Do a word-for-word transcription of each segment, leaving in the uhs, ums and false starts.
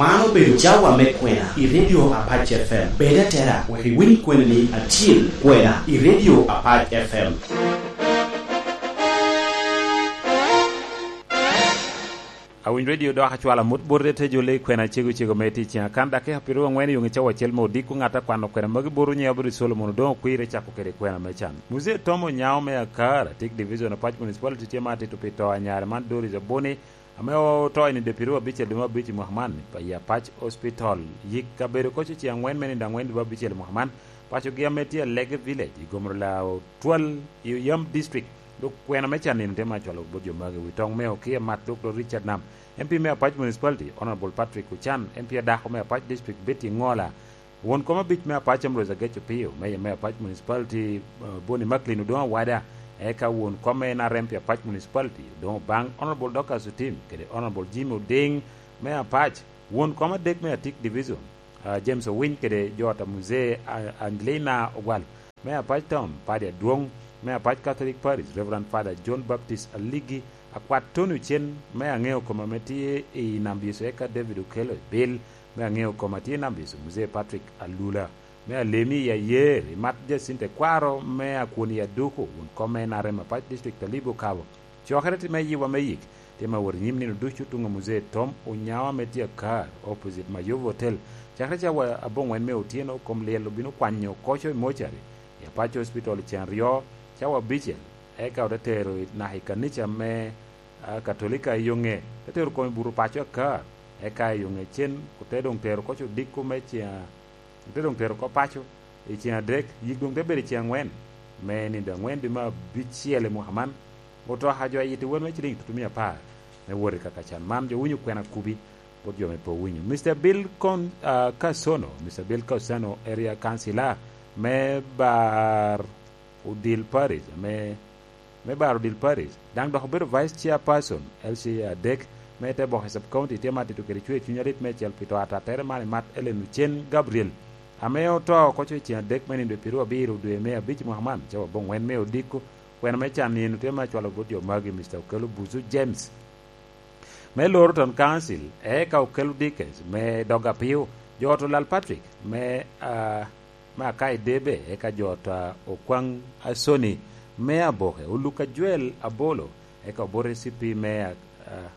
Man obedo cawa me kwena i Radio Apac F M. Bed atera wek iwiny kwenani acil, kwena i Radio Apac F M. Awiny Radio dok acwalo amut bot rete jo le kwena cego cego me tic ciŋa kan dakika piero angwen i yoŋe cawa acel me odiko ŋat a kwano kwena magi bot onye Abdu Solomon Odoŋo Kwir ecako kede kwena me can. Muzee Tom Onyango me Akar, Atik Division, Apac Municipality tye ma atito pi to a nyare man Doris Abuni, ame oto i nino pyeraryo abicel dwe me abic i mwaka man, pa i Apac Hospital. Yik kabedo koc ociŋ angwen me nino angwen dwe me abicel i mwaka man, pacogi ame tye Alege Village, i Gomrola Otwal, i Oyam District, dok kwena me canino tye ma acwalo bot jo magi. Wi toŋ me Okia Mat, Doktor Richard Nam, M P me Apac Municipality, Honorable Patrick Ochan, M P adako me Apac District, Betty Ngola, Won kom abic me Apac Ambrose Agec Opio, Mayor me Apac Municipality, eh, Boni Macklin Odoŋo Awada, eka won kom me N R M pi Apac Municipality, Odoŋo Obaŋ, Honorable Dorcas Otim, kede Honorable Jimmy Oding me Apac, won kom adek me Atik Division, ah, James Owiny, kede jo ot a Muzee, ah, Angelina Ogwal, me Apac Town, Padi Adwoŋ, me Apac Catholic Parish, Reverend Father John Baptist Aligi, Akwat Tony Ocen, me Aŋeo Koma ame tye i Nam Biso, eka David Okello Ebil, me Aŋeo Koma tye i Nam Biso, Muzee Patrick Alula, me Alemi i Ayer, i Mat Jacinta Ekwaro, me Akwoni i Aduku, won kom me N R M Apac District, Talibo Kabo. Cokere tye me yiwa me yik, tye me wot i nyim nino ducu tuŋ a Muzee Tom Onyango ame tye Akar, opposite Mayovu Hotel, cakere cawa aboŋwen me otyeno. Kom lyel obino kwanyo koco i mocari i Apac Hospital i ceŋ aryo, cawa abicel, eka ote tero i, naka i kanica me, ah, Katolika i Yoŋe, te tero kome buto paco Akar, eka i Yoŋe cen ote doŋ tero koco odiko me ceŋ a-, ote doŋ tero oko paco i ceŋ adek, yik doŋ te bedo i ceŋ angwen, me nino angwen dwe me abicel i mwaka man. Otoka jo ayito wel me ciliŋ tutumia apar me wot i kaka can man, jo winyo kwena kubi, bot jo me pe owinyo. Mister Bill Con-, ah, Kasono, Mister Bill Kasono, Area Councilor me Bar Odil Parish, ame, me Bar Odil Parish, daŋ dok obedo Vice Chairperson, L C A adek, me Teboke Sub County, tye ma atito kede cwer cuny alit meicel pi to atattere man i Mat Ellen Ocen Gabriel, ame oto oko co i ceŋ adek me nino pyeraryo abiro dwe me abic mwaka man, cawa aboŋwen me odiko. Kwena me can nino tye ma acwalo bot jo magi, Mister Okello Buzu James, me Loro Town Council, eka Okello Dickens, me Dog Apiu, jo ot Olal Patrick, me, ah, me Akai Debe, eka jo ot, ah, Okwaŋ Asoni, me Aboke, Oluka Joel Abolo, eka Obote C P me, ah, ah,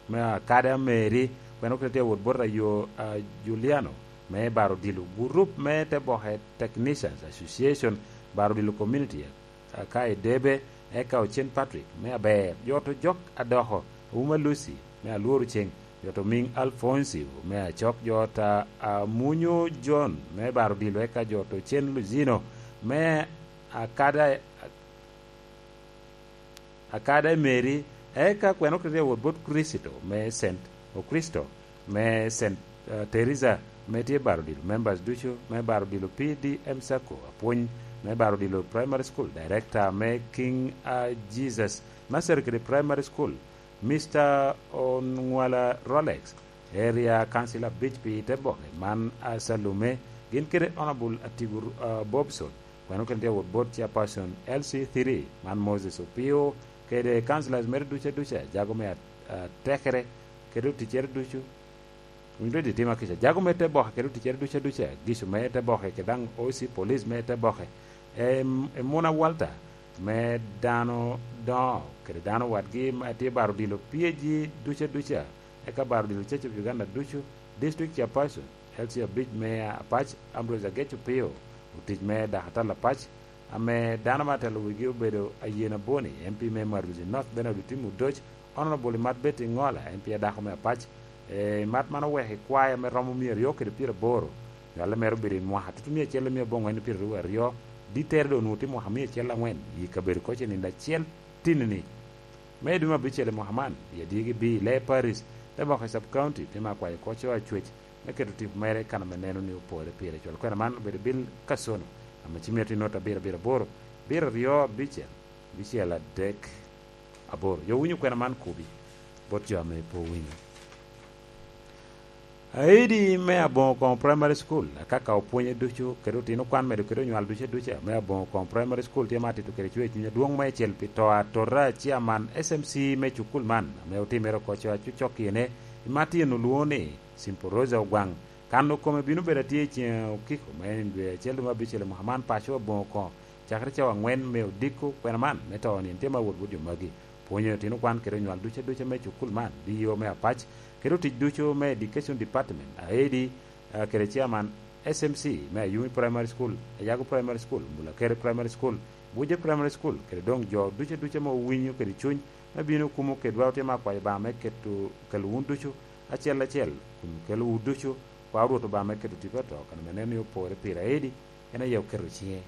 me Akada Mary, kwena okete tye awot bot ayo, ah, Juliano, me Bar Odilo, gurup me Teboke Technicians Association, Bar Odilo Community, Akai Debe, eka Ocen Patrick, me Aber, jo ot Ojok Adoko, Auma Lucy, me Alworo Ceng, jo ot Omiŋ Alfoncio, me Acok, jo ot a, Amunyo John, me Bar Odilo, eka jo ot Ocen Luzino, me Akada, Akada Mary, eka kwena okete awot bot Kricito, me Saint Okristo, me Saint, eh, Teresa, me tye Bar Odilo, members ducu me Bar Odilo P D M Sacco, apwony me Bar Odilo Primary School, director me King, ah, Jesus Nursery kede Primary School, Mister Onwala Rolex, area council abic pi Teboke man, ah, Salume, gin kede Honorable Atigur, ah, Bobson, kwena okene tye awot bot chairperson L C three, man Moses Opio, kede councillors mere duca duca, jago me at-, atekere, kede oticcere ducu, Winy Redi timo kica. Jago me Teboke kede oticcere duca duca, Gicu me Teboke kede daŋ O C police me Teboke, em-, Emuna Walter me dano doŋo kede dano wadgi ma tye Bar Odilo P A G duca duca, eka Bar Odilo Church of Uganda ducu, District Chairperson, L C abic me Apac, Ambrose Agec Opio, otic me Dakatal Apac, ame dano ma telo wigi obedo Ayen Aboni, M P me Maruzi North, Bernard Otim Odoc, Honorable Imat Betty Ngola, M P adako me Apac, eh, Imat man oweko i kwaya me romo mia aryo kede pyeraboro, nywale mere obedo i mwaka tutumia acel mia abongwen pyeraryo aryo, dittere doŋ onwoŋo tye mwaka mia acel angwen, i kabedo koc i nino acel tinni. Me i dwe me abicel i mwaka man, i adigi bi i Lee Parish, te moko i Sub County, pi me akwayo koc o acwec, me keto tipo mere i kan ame neno ni opore pire cwalo. Kwena man obedo Bill Kasono, ame ci mito i nota abiro abiro aboro, abiro aryo abicel, abicel adek aboro. Jo winyo kwena man kubi, bot jo ame pe owinyo. Aidi me Aboŋo Koŋo Primary School, akaka opwonye ducu, kede otino kwan medo kede onywal ducu duca, me Aboŋo Koŋo Primary School tye ma atito kede cwer cuny adwoŋ meicel pi to atota a chairman S M C me cukul man, ame otimere oko coa cucok kine, i ma tyen olwoŋo ni Simple Rosa Ogwaŋ. Kano kome bino bedo atye i ceŋ okiko me nino dwe acel dwe me abicel i mwaka man, paco aboŋo oko cakere cawa aŋwen me odiko kwena man me to nino tye ma wot wot jo magi. Pwonyo otino kwan kede onywal duca duca me cukul man, D E O me Apac, kede otic ducu me Education Department, aedi, ah, kede chairman S M C me Ayumi Primary School, Ayago Primary School, Mulakere Primary School, Buje Primary School, kede doŋ jo duca duca ma owinyo kede cuny me bino kumo kedwa. Otye me akwayo Obaŋa me keto, kelo wun ducu acel acel, kun kelo wu ducu, kwa Rwot Obaŋa me keto tipo ato, kan ame neno ni opore pire aedi, en aye oketo ciŋe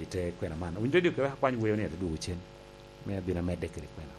i te kwena man. Owinyo dodi oke wek akwany weyo ni ate dwogo cen, me abin amedde kede kwena.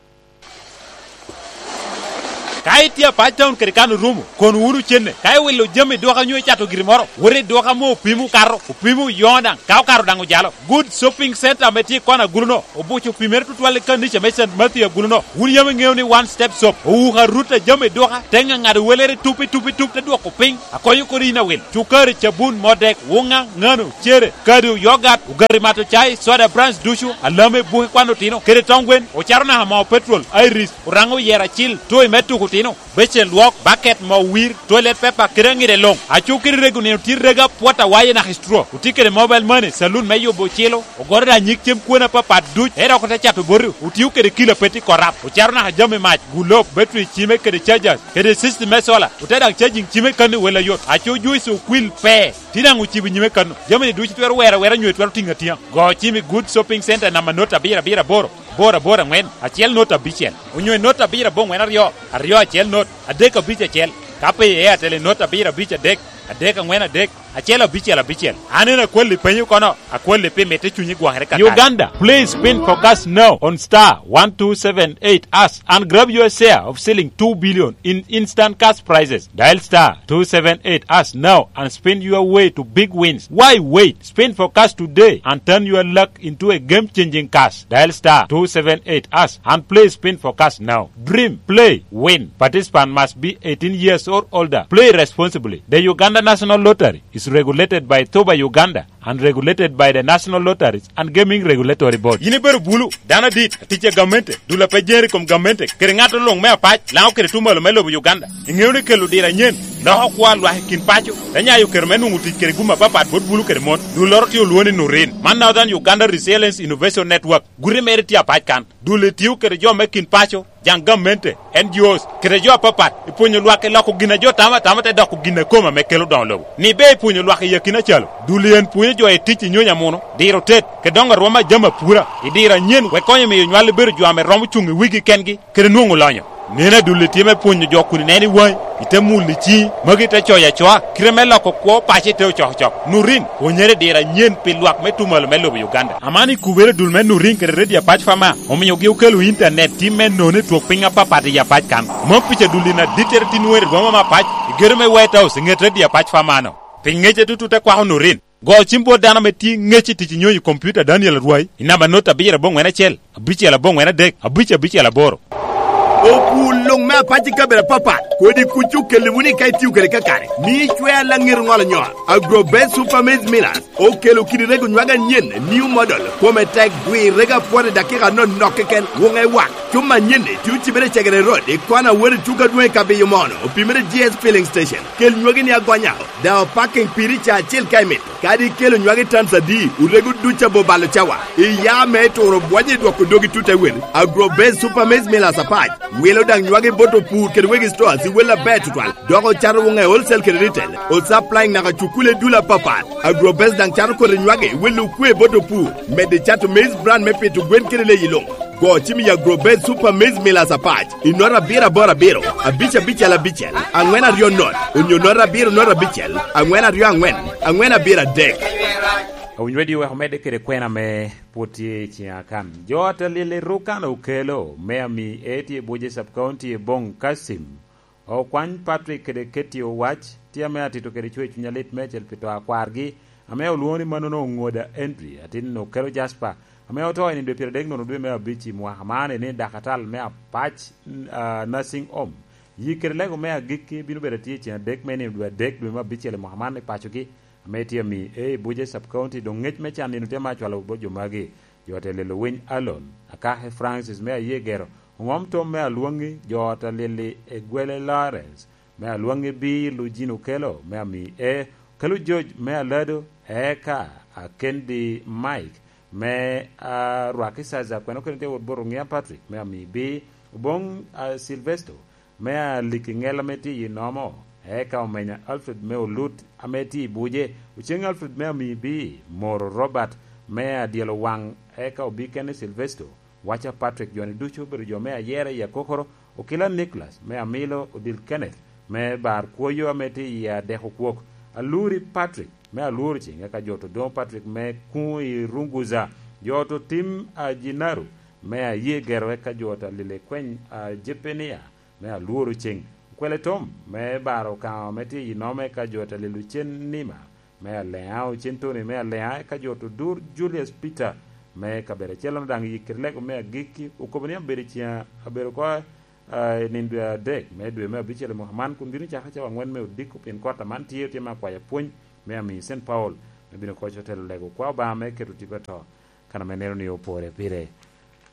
Ka itye Apac Town kede kan orumo, kon wunu cenne. Ka iwilo jami i duka onyo icato giri moro, wot i duka ame opimo okato, opimo oyoŋo daŋ, ka okato daŋ ojalo. Good Shopping Center ame tye i kona agulu-no, obuco opimere tutwal i kanica me Saint Matthew agulu-no. Wun yam iŋeo ni One Step Shop owuko arut a jami i duka, te ŋaŋado welere tup i tup i tup, te dwoko piny, akonyo kodi yin awil. Cukari, cabun, modek, wuŋa, ŋano, cere, kado, yogat, ogati mato cai, soda brands ducu, alame, buki kwan otino, kede tong gwen, ocato naka moo petrol, Iris, Oraŋo oyero acil, toy me tuko otino, becen lwok, baket, moo wir, toilet paper, kede aŋide luŋ. Aco kede rego nino tye rega pwot awaye naka i straw. Otye kede mobile money, saloon me yubo ocilo, ogoto daŋ nyig cem kwena apapat duc, ento dok ote cato boti. Otio kede kilo apeti korap. Ocato naka jami mac, gulop, battery, cime kede chargers, kede system me solar. Ote daŋ charging cime kan i wel ayot. Aco juice okwil pe. Tye daŋ ocibo nyime kan-nu. Jami-ni ducu itwero wero awera nyo itwero tiŋo atiŋa. Go cim i Good Shopping Center namba not abiro abiro aboro, aboro aboro aŋwen, acel not abicel, onyo i not abiro aboŋwen aryo, aryo acel not, adek abic acel. Ka pe i Airtel i not abiro abic adek, adek aŋwen adek, acel abicel abicel. An en akwalli penyo kono, akwalli pi mitte cunyi gwokere kakare. Uganda, please spin for cash now on star one two seven eight hash and grab your share of shilling two billion in instant cash prizes. Dial star two seven eight hash now and spin your way to big wins. Why wait? Spin for cash today and turn your luck into a game-changing cash. Dial star two seven eight hash and play Spin for Cash now. Dream, play, win. Participant must be eighteen years or older. Play responsibly. The Uganda National Lottery is regulated by Thuba Uganda and regulated by the National Lotteries and Gaming Regulatory Board. Yin ibedo bulu, dano adit, atic a gamente, dul a pe jeri i kom gamente, kede ŋat luŋ me Apac, Laŋo kede Tumalo me lobo Uganda. Iŋeo ni kelo diro anyen loko kwo a lwak i kin paco, te nyayo kero me nwoŋo tic kede gum apapat bot bulu kede mon. Dulloro tye olwoŋo ni Nurin. Man Northern Uganda Resilience Innovation Network. Guti mere tye Apac kan. Dul-li tio kede jo me kin paco, jaŋ gamente, N G Os, kede jo apapat, i pwonyo lwak i loko gin a jo tamo atama te doko gin a kome ame kelo doŋo lobo. Ni ber i pwonyo lwak i akina calo, dul-li en pwonyo jo i tic i nyonyo amuno, diro tet, kede doŋo arwom a jami apura, i diro anyen, wek konyo miyo nywal-li bedo jo ame romo cuŋ i wigi kengi, kede nwoŋo lonyo. Neno a dul-li tye me pwonyo jo kun ineno i waŋi, ite mulo i ciŋi, magi te coyo acoa, kite me loko kwo paco ite ocokocok. Nurin, pwonyere i diro anyen pi lwak me Tumalo me lobo Uganda. Aman i kubere dul me Nurin kede Radio Apac Fama, omiogi okelo intanet tim me nono i twok piny apapat i Apac kan. Mom pica dul-li na dittere tin weri rwoma me Apac, i gedo me White House i ŋet Radio Apac Fama-no. Pi ŋec atutut te kwako Nurin. Go cim bot dano ame tye ŋec i tic i nyonyo i kompiuta Daniel Arwai, i namba not abiro aboŋwen acel, abicel aboŋwen adek, abic abicel aboro. Opur luŋ me Apac i kabedo apapat, kodi kuc okelli wunu ka itio kede kakare. Mi icwer laŋet ŋolo nyol. Agrobest Super Maize Millers okelo kidi rego nywag anyen, new model, kome tek, dwi rego apwot i dakika anonok keken, wuŋe wak. Cuma anyen-ni tye ocibere i Cegere Road, i kona wot i tuko adwoŋ i Kabiyo Mono, opimere G S Filling Station. Kel nywagi ni agonya, daŋ opaking piri ca acel ka imito. Kadi ikelo nywagi tons adi, orego duc abobalo cawa. Iya me turo bwonyo i dwoko dogi tut ewel. Agrobase Super Maize Millers Apac wilo daŋ nywagi bot opur kede wegi stores i wel aber tutwal, dok ocato wuŋe wholesale kede retail, osupplying naka cukule dul apapat. Agrobase daŋ cato kodi nywagi wel okwe bot opur, medo cato maize bran me pito gwen kede leyi luŋ. Go cim i Agrobase Super Maize Millers Apac i nota abiro aboro abiro, abic abicel abicel, aŋwen aryo not, onyo nota abiro not abicel, aŋwen aryo aŋwen, aŋwen abiro adek. Awinyo Radio wek omedde kede kwena ame pwod tye i ciŋa kan. Jo ata lyel i Rukan okelo, me ami e tye i Buje Sub County i Bong Kasim. Okwany Patrick kede Ketty Owac tye ame atito kede cwer cuny alit meicel pi to a kwargi, ame olwoŋo ni manono Oŋoda Henry, atin Okelo Jasper, ame oto i nino dwe pyeradek nono dwe me abic i mwaka man, i ni dakatal me Apac, ah, Nursing Home. Yik kede lego me agikki bino bedo atye i ceng adek me nino dwe adek dwe me abicel i mwaka man i pacogi, ame tye ami e i Buje Sub County, doŋ ŋec me can nino tye ma acwalo bot jo magi. Jo ata lyel Owiny Alon, Akake Francis me Ayegero, Oŋom Tom me Alwoŋi, jo ata lyel-li Egwele Lawrence, me Alwaŋŋi B, Lujin Okelo, me Ami E, Okelo George, me Alado, eka Akendi Mike, me Arwaki Saza, kwene okene tye wot bot Oŋia Patrick, me Ami B, Oboŋ, a, Silvesto, me Aliki Ŋel ame tye i Nomo, eka Omenya Alfred me Olut ame tye i Buje, Oceŋ Alfred me Ami B, Moro Robert, me Adyelo Waŋ, eka Obi Kene Silvesto, Waca Patrick, jo-ni ducu obedo jo me ayera i akokoro, Okila Nicholas, me Amilo, Odil Kenneth, me Bar Kwoyo ame tye i Adeko Kwok, Aluri Patrick, me Alworo Ceng, eka jo Odoŋo Patrick me Kuŋ i Runguza, jo Otim Ajinaru, me Aye Gero, eka jo Alile Kweny, a, Jepenia, me Alworo Ceng, Okwele Tom, me Bar Okaŋo ame tye i Nome, eka jo Alile Ocen Nima, me Aleŋa, Ocen Tony me Aleŋa, eka jo Odur Julius Peter me kabedo acel-lono daŋ i kite lego me agikki, okobo ni abedo i ciŋ, abedo oko, ah, i nino dwe adek me dwe me abicel i mwaka man, kun bino cako cawa aŋwen me odiko, pien kota man tye, otye me akwayo pwony me Ami Saint Paul, me bino koc otelo lego kwa Obaŋa me keto tipo ato, kan ame neno ni opore pire.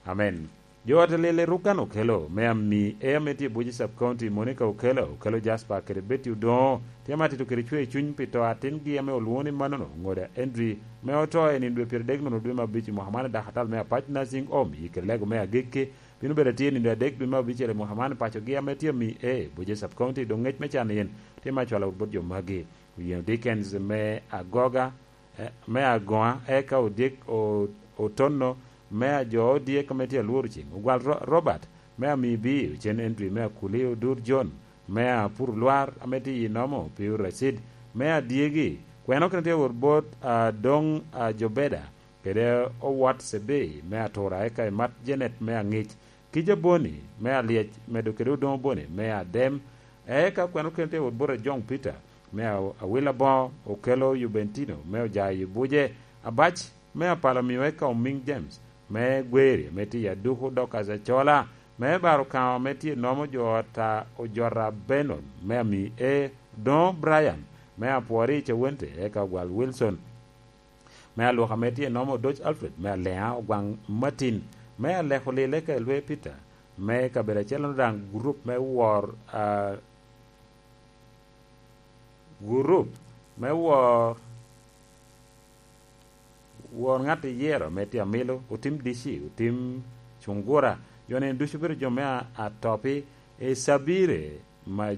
Amen. Jo ot a lyel i Rukan Okelo, me Ami E ame tye i Buji Sub County, Monica Okelo, Okelo Jasper kede Betty Odoŋo, tye ame atito kede cwer cuny pi to atingi ame olwoŋo ni manono, Ŋoda Andrew, me oto i nino dwe pyeradek nono dwe me abic i mwaka man i Dakatal me Apac Nursing Home, i kede lego me agikki, bino bedo atye i nino adek dwe me abicel i mwaka man i pacogi ame tye Ami E, Buji Sub County, doŋ ŋec me can yen tye me acwalo bot jo magi. Oyen Dickens me Agoga, eh, me Agoŋa, eka Odyek O-, Otonno, me Ajo Odyek ame tye Alworo Ceng, Ogwal Ro-, Robert, me Ami B, Ocen Andrew, me Akuli, Odur John, me Apur Lwar, ame tye i Nomo, Piu Racid, me Adyegi, kwene okene tye wot bot, ah, Doŋ, ah, Jobeda, kede Owot Cebei, me Atura, eka Imat Janet, me Aŋic, Kija Boni, me Alyec, medo kede Odoŋo Boni, me Adem, eka kwene okene tye wot bot Ajoŋ Peter, me A-, Awil Aboŋo, Okelo Jubentino, me Ojayo Buje, Abac, me Apalo Mio, eka Omiŋ James, me Gweri, ame tye i Aduku, Dorcas Acola, me Bar Okaŋo, ame tye Nomo jo ot a Ojota Benon, me Ami E, Odoŋo Brian, me Apwori i Cawente, eka Ogwal Wilson, me Alwok ame tye Nomo, Odoc Alfred, me Aleŋa, Ogwaŋ Martin, me Aleko Lil, eka Elwe Peter, me kabedo acel-lono daŋ gurup me wor, ah, gurup me wor, wor ŋat iyero me tye Amilo, Otim D C, Otim Cungura, jo-ni ducu obedo jo me a-, atopi, Icabire, ma,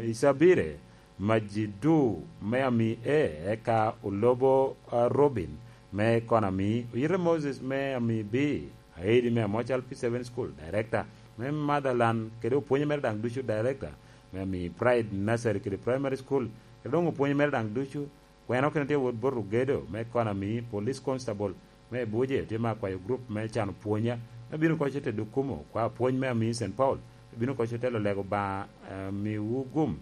Icabire, Majidu, me Ami E, eka Olobo, ah, Robin, me Konami, Oyite Moses, me Ami B, Aidi, me Amocal P seven School, Director, me Motherland, kede opwonye mere daŋ ducu, Director, me Ami Pride Nursery kede Primary School, kede doŋ opwonye mere daŋ ducu, kwene okene tye wot bot Ogedo, me Konami, Police Constable, me Buje, tye me akwayo group me cano pwonya, me bino koc otelo kumo, kwa pwony me Ami Saint Paul, me bino koc otelo lego ba, eh, miwu gum,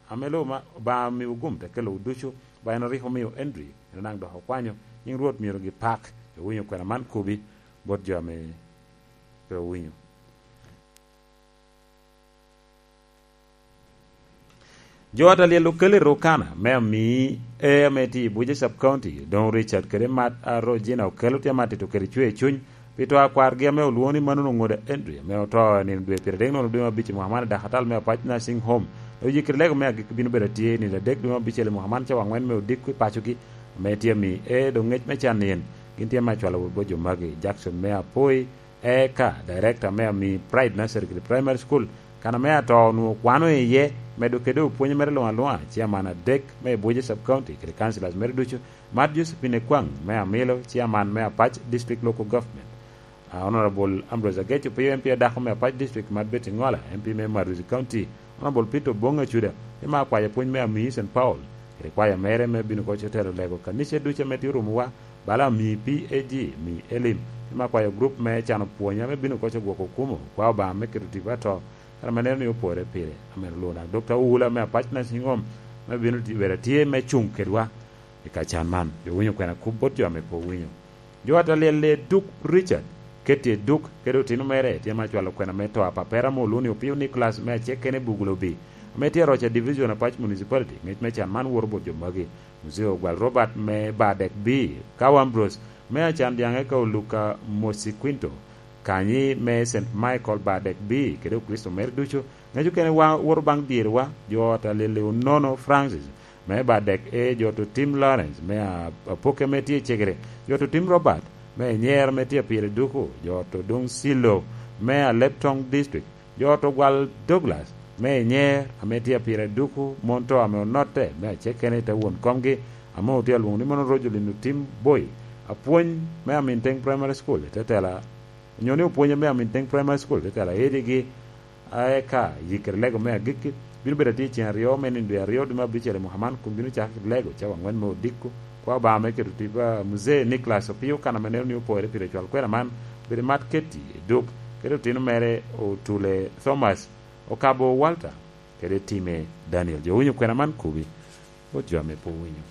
ame lo ma, ba miwu gum te kelowu ducu, ba en rik omio Henry, en daŋ dok okwanyo, nyiŋ Rwot myero gipak, owinyo kwena man kubi, bot jo ame pe owinyo. Jo ot a lyel Okelo i Rukana, me Ami E ame tye i Buje Sub County, Odoŋo Richard kede Mat a Rogina Okelo tye ame atito kede cwer cuny pi to a kwargi ame olwoŋo ni manono Ŋoda Andrew, ame oto i nino dwe pyeradek nono dwe me abic i mwaka man i Dakatal me Apac Nursing Home. Dok yikiri lego me agikki bino bedo atye i nino adek dwe me abicel i mwaka man cawa aŋwen me odiko i pacogi, ame tye Ami E, dok ŋec me can yen gin tye ame acwalo wot bot jo magi, Jackson me Apoi, eka Director me Ami Pride Nursery kede Primary School, kan ame ato onwoŋo kwano iye, medo kede opwonye mere luŋ aluŋa, Chairman adek me Buje Sub County kede Councillors mere ducu, Mat Josephine Ekwaŋ me Amilo, Chairman me Apac District Local Government, ah, Honorable Ambrose Ageco Piyo, M P adako me Apac District, Mat Betty Ŋola, M P me Maruzi County, Honorable Peter Oboŋ Acuda, tye ame akwayo pwony me Ami Saint Paul, kede kwaya mere me bino koc otelo lego kanica ducu ame tye orumowa, bala Ami P A G, Ami Elim, tye ame akwayo gurup me cano pwony ame bino koc ogwoko kumo kwa Obaŋa me keto tipo ato, kare ame neno ni opore pire. Amen. Olwoŋo daŋ Dokta Owula me Apac Nursing Home, ame bino ti-, bedo atye me cuŋ kedwa i ka can man. Owinyo kwena kop bot jo ame pe owinyo. Jo ot a lyel Eduk Richard, Ketty Eduk, kede otino mere, tye ame acwalo kwena me to a papere ame olwoŋo ni Opio Nicholas me Acek kene i Bugulobi, ame tye aroc a Division Apac Municipality. Ŋec me can man woto bot jo magi: Muzee Ogwal Robert me Badek B, Kawa Ambrose me Acan Dyaŋ, eka Oluka Mosi Quinto, kanyi me Saint Michael Badek B kede Okricito mere ducu. Ŋec okene wa woto baŋ dyerwa, jo ot a Lili Onono Francis me Badek A, jo to Tim Lawrence me a-, Apoke me tye i Cegere, jo to Tim Robert me Enyer me tye pire duku, jo to Dong Silo me Aleptong District, jo to Gwal Douglas me Enyer ame tye pire duku, mon to ame onotte me acekene i te won komgi, ame otye alwoŋo ni mono Rojo Lino Tim Boy, apwony me Aminteng Primary School, i te tela, onyo ni opwonye me Aminteng Primary School, i te tela edigi, a eka yikere lego me agikki, bino bedo atye i ceng aryo me nino dwe aryo dwe me abicel i mwaka man, kun bino cako kede lego cawa angwen me odiko. Kwa Obaŋa me keto tipo a Muzee Nicholas Opio kan ame neno ni opore pi cwal kwena man, bedo mat keti i duk, kede otino mere Otule Thomas, Okabo Walter, kede Time Daniel. Jo winyo kwena man kubi, bot jo ame pe owinyo.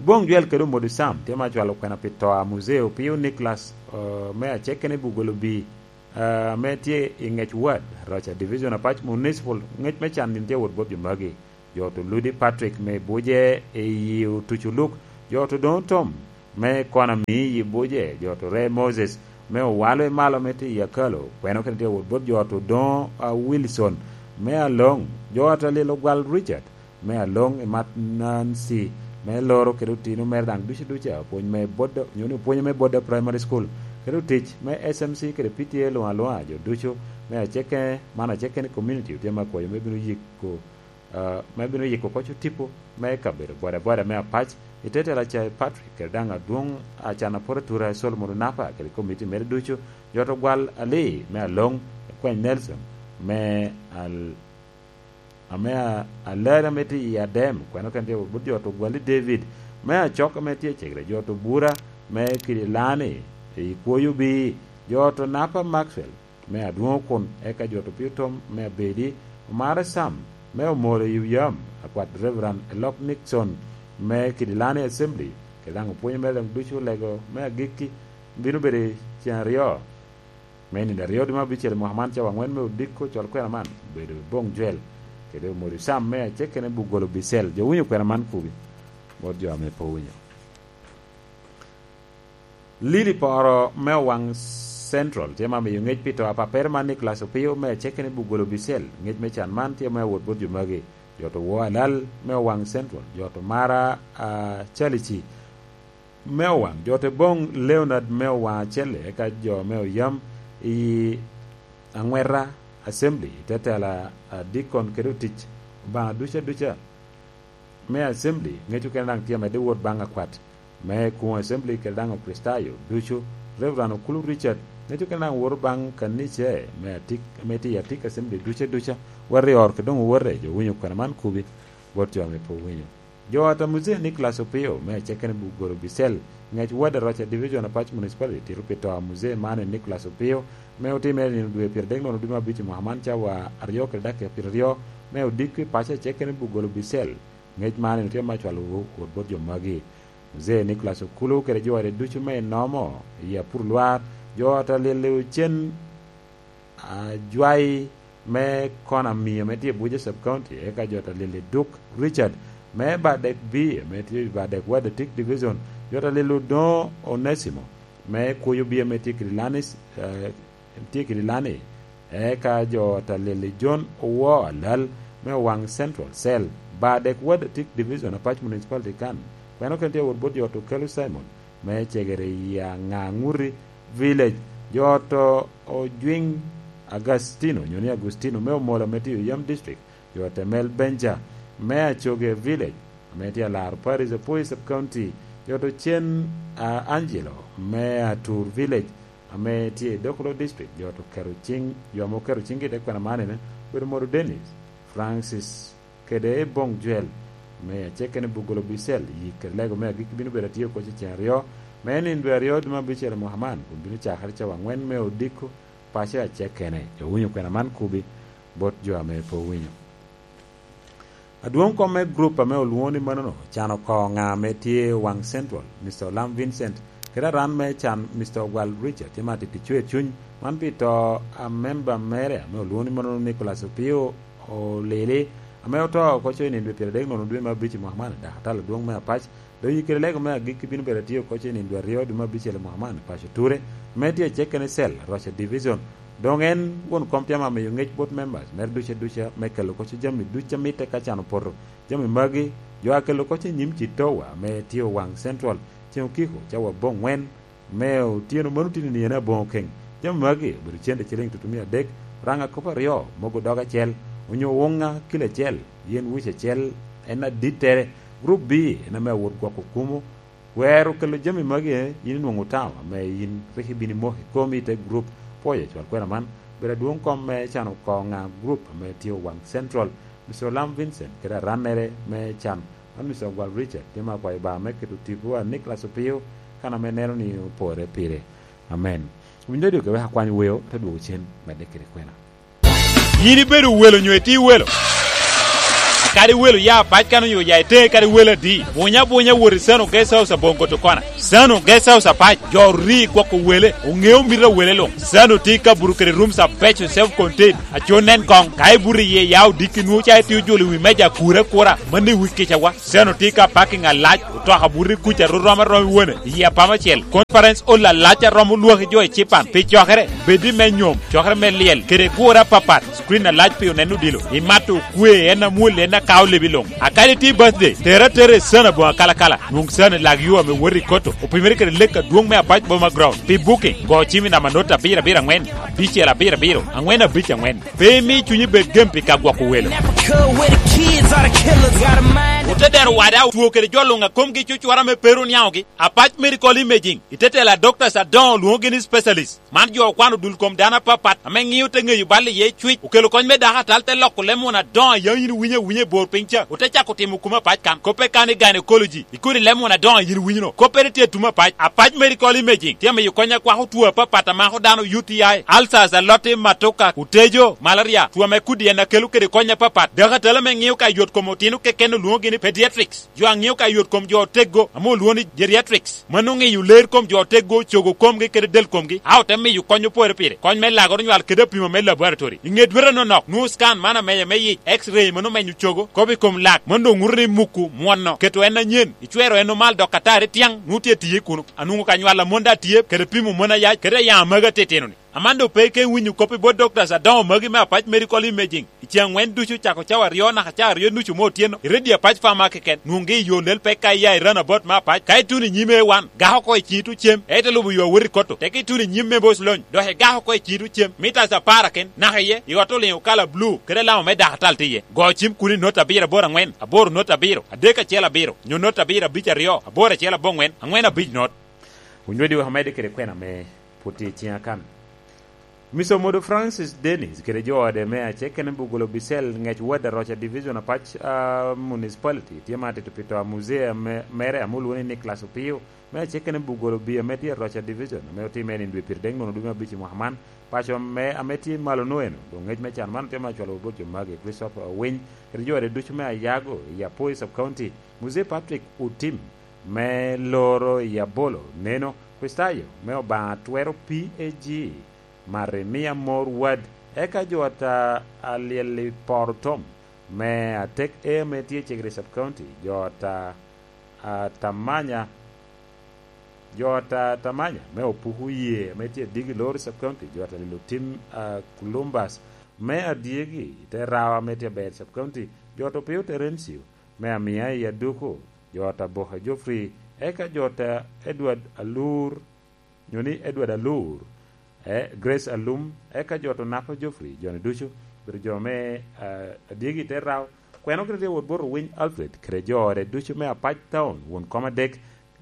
Boŋ Jwel kede Omodi Sam tye ma cwalo kwena pi to a Muzee Opio Nicholas, eh, me acekene Bugolo B, eh, ame tye i Ŋec Ward, Roca Division, Apac Municipal. Ŋec me can din tye wot bot jo magi. Jo to Ludi Patrick me Buje i yi Otuco Luk, jo to Doŋ Tom me Kona mi yi Buje, jo to Re Moses me Owalo i Malo me tye i Akalo, kweno kede tye wot bot jo to Doŋ, ah, Wilson me Aloŋ, jo to Lilo Gwal Richard me Aloŋ i Mat Nancy me Loro kede otino mere daŋ ducu duca, pwony me Bodda, onyo ni opwonyo me Bodda Primary School, kede otic me S M C kede P T A luŋ aluŋa, jo ducu me aceke, man aceke ni community otye me akwayo me bino yiko, ah, me bino yiko koc otipo me kabedo boda boda me Apac, i te tela Cai Patrick, kede daŋ adwoŋ Acan Aporo Atura Solomon Onapa, kede komiti mere ducu, jo to Gwal Ali me Aloŋ, Kweny Nelson me Al-, ame a-, alari ame tye i Adem, kweno kene tye wot bot jo to Gwali David, me Acok ame tye i Cegere, jo to Bura me Kidilani i Kwoyo Bi, jo to Napa Maxwell me Adwoŋ Okun, eka jo to Pio Tom me Abedi, Omara Sam me Omoro i Yam, akwat Reverend Elok Nixon me Kidilani Assembly, kede daŋ opwonyo mere daŋ ducu lego me agikki bino bedo i cen aryo. Me nino aryo dwe me abicel i mwaka man, cawa angwen me odiko cwal kwena man obedo i Boŋ Jwel, kede Omori Sam me acekene Bugolo Bicel. Jo winyo kwena man kubi, bot jo ame pe owinyo. Lili Poro me Owaŋ Central tye ma miyo ŋec pi to a papere man Nicholas Opio me acekene Bugolo Bicel. Ŋec me can man tye me awot bot jo magi. Jo to Wo Alal me Owaŋ Central, jo to Mara, ah, Chalici, me Owaŋ, jo te Boŋ Leonard me Owaŋ Acelle, eka jo me Oyam i Aŋweta Assembly, i te tela, ah, Dikon kede otic Obaŋa duca duca me Assembly, ŋec okene daŋ tye amedde wot baŋ akwat me Kuŋ Assembly kede daŋ Okricitayo ducu, Reverend Okulu Richard, ŋec okene daŋ woto baŋ kanica me Atik, me tye i Atik Assembly duca duca, wot i or kede doŋ owote, jo winyo kwena man kubi, bot jo ame pe owinyo. Jo ata Muzee Nicholas Opio me acekene Bugolo Bicel, ŋec Ward Aroca Division Apac Municipality tito pi to a Muzee Mane Nicholas Opio, me otimere nino dwe pyeradek nono dwe me abic i mwaka man cawa aryo kede dakika pyeraryo, me odiko i paco acekene Bugolo Bicel. Ŋec man en tye ma cwalo wot bot jo magi. Muzee Nicholas Okulu kede jo ade ducu me enomo i Apur Lwar, jo ata Lili Ocen, ajwai me Kona Miyo me tye i Abuja Sub County, eka jo ta Lili Duk Richard me Badek B, me tye i Badek Wadatik Division, jo ta Lili Odongo Onesimo me Kuyo B, me tye Kidilani, eh, tye Kidilani, eka jo ta Lili John Owo Alal me Owaŋ Central Cell, Badek Wadatik Division, Apac Municipality kan, kweno kene tye wot bot jo to Kelu Simon, me Cegere i Aŋaŋuti Village, jo to Ojwiŋ Agastino, onyo ni Agustino, me Omola me tye i Oyam District, jo Temel Benja, me Acoge Village, ame tye Alaro Parish, Apwoyo Sub County, jo to Cen, ah, Angelo, me Atur Village, ame tye i Dokolo District, jo to keto ciŋ, jo ame oketo ciŋgi i te kwena man ene, obedo Modo Dennis, Francis, kede i Boŋ Jwel, me acekene Bugolo Bicel, yik kede lego me agikki bino bedo atye oko i cen aryo, me nino dwe aryo dwe me abicel i mwaka man, kun bino cakere cawa angwen me odiko paco acekene. Jo winyo kwena man kubi bot jo ame pe owinyo. Adwoŋ kom me grup ame olwoŋo ni manono, can oko ŋa ame tye Owaŋ Central, Mister Olam Vincent, kede aran me can, Mister Ogwal Richard, tye ma titi cwer cuny, man pi to a memba mere ame olwoŋo ni manono Nicholas Opio Olili, ame oto oko co i nino dwe pyeradek nono dwe me abic i mwaka man, dakatari adwoŋ me Apac, dok i kede lego me agikki bino bedo atye oko co i nino dwe aryo dwe me abicel i mwaka man i paco Ture, ame tye acek kene cell, Rocha Division. Doŋ en won kom tye ame amiyo ŋec bot members mere duca duca me kelo oko co jami duca mitte ka can opoto. Jami magi, jo a kelo oko co i nyim Citowa ame tye Owaŋ Central, ceŋ okiko cawa aboŋwen, me otyeno mano tye nino aboŋo keŋ. Jami magi obedo cente ciliŋ tutumia adek, oraŋa kop aryo, mogo dog acel, onyo wuŋa kilo acel, yen wic acel, en adittere. Gurup B en ame awot gwoko kumo. Wer okelo jami magi, yin inwoŋo tamo ame yin rik ibino imoko i komi i te gurup. Pwoyo cwal kwena man, bedo adwoŋ kom me cano koŋa gurup ame tye Owaŋ Central, Mister Olam Vincent kede arannere me can. Man Mister Ogwal Richard, tye ma akwayo Obaŋa me keto tipo a Nicholas Opio, kan ame neno ni opore pire. Amen. Winyo dok wek akwany weo, te dwogo cen, medde kede kwena. Yin ibedo welo nyo itye welo? Kadi welo ya Apac kan onyo ya iteŋe kadi welo adi, bunya bunya wot i Sano Guest House aboŋo Gotokona. Sano Guest House Apac, jo ori gwoko wele, oŋeo mito a wele luŋ. Sano tye ka buto kede rooms abeco self contained, aco nen koŋ, ka ibuto iye ya odiki nwoŋo ca itye ojolo i wi meja akure akura, mano i wi kicawa. Sano tye ka parking alac, otoka buto i kuca ru rom arom i wone, i apama acel. Conference hall alac a romo lwaki jo i cipan, pi cokere, bed i me nyom, cokere me lyel, kede gure apapat, screen alac pi oneno odilo. Imato okwe, en amwol, en akao lebi luŋ. A kadi tye birthday, tere atera i Sano aboŋo akalakala. Nwoŋ Sano i lag yo ame wot i Koto, opimere kede lek adwoŋ me Apac Boma Ground. Pi booking, go cim i namba not abiro abiro aŋwen, abicel abiro abiro, aŋwen abic aŋwen. Pe imi cunyi bed gem pi ka gwoko welo. Ote dero wada otwo kede jo luŋ a komgi cucwara me pero niaŋogi. Apac Medical Imaging, i te telo a doctors adoŋo lwoŋogi ni specialist. Man jo okwano dul kom dano apapat ame ŋio te ŋeyo bal iye cwic. Okelo kony me dako atal te loko leb muna adoŋo a yaŋ yin iwinyo awinya i bor piny ca. Ote cako timo kuma apac kan. Koppe kan i gynecology. I kodi leb muna adoŋo a yin iwinyo no. Koppere tye atum apac. Apac Medical Imaging tye amiyo kony akwako two apapat a mako dano, U T I, ulcers, aloti, matoka, otejo, malaria, two ame kudi en akelo kede kony apapat. Dako atal ame ŋio ka yot kom otino keken olwoŋogi ni pediatrics. Jo a ŋeo ka yot kom jo oteggo, ame olwoŋo ni geriatrics. Mano oŋeyo ler kom jo oteggo, cogo komgi kede del komgi, a ote miyo kony opore pire. Kony me lagoro nywal kede apimo me laboratory. I ŋe dwete anonok, nwoŋo scan man ameya me yic, X-ray mano omenyo cogo, kop i kom lak, mano doŋ ŋuto ni muku, mwono, keto en anyen, icwero en omal dok atari tyaŋ, nwoŋo tye tiye kuno. Anwoŋo ka nywal amon daŋ tye, kede pimo mon ayac, kede ayaŋ amagi atitino-ni. Aman doŋ pe ike winyo kop i bot doctors adoŋo magi me Apac Medical Imaging. I ceŋ aŋwen ducu cako cawa aryo naka cawa aryo nucu me otyeno, i redio Apac Pharmacy keken, nwoŋgi i yo lel pek ka iya i roundabout me Apac. Ka ituno i nyim A one, gak oko i ciŋi tuŋ cem, ite lubo yo awot i Koto. Tek ituno i nyim me Boc Lony, dok igak oko i ciŋi tuŋ cem, mitas apar aken, naka iye, i ot oliŋo kala blue, kede alama me dakatal tye iye. Go cim kuno i not abiro aboro aŋwen, aboro not abiro, adek acel abiro, nyo not abiro abic aryo, aboro acel aboŋwen, aŋwen abic not. Onywedi wek amedde kede kwena me pwod tye i ciŋa kan. Mister Omodo Francis Dennis kede jo ode me acekene Bugolo Bisel, ŋec ward Aroca Division Apac, ah, Municipality, tye ma atito pi to a muzee ame-, mere ame olwoŋo ni Nicholas Opio, me acekene Bugolo B ame tye Aroca Division, ame otimme i nino dwe pyeradek nono dwe me abic i mwaka man. Paco ame, ame tye malo no eno, doŋ ŋec me can man otye ma cwalo bot jo magi, Christopher Owiny, kede jo ode ducu me Ayago, i Apoi Sub-County, Muzee Patrick Otim, me Loro i Abolo, neno, Kristayo me Obaŋa Twero P A G, Marimia Mor Wad, eka jo ata a lyel i Poro Tom, me Atek A ame tye i Cegere Sub-County, jo ata a Tamanya, jo ata Tamanya me Opuku Ye ame tye i Digi Lori Sub-County, jo ata Lilo Tim a Columbus me Adyegi i te Rawa ame tye i Abeid Sub-County, jo ata Opio Terencio me Amia i Aduku, jo ata Boka Geoffrey, eka jo ata Edward Alur, nyo ni Edward Alur, eh, Grace Alum, eka jo ata Onapo Geoffrey, jo-ni ducu obedo jo me, eh, Adyegi i te Rawa. Kwena okene tye wot bot Owiny Alfred kede jo ode ducu me Apac Town, won kom adek,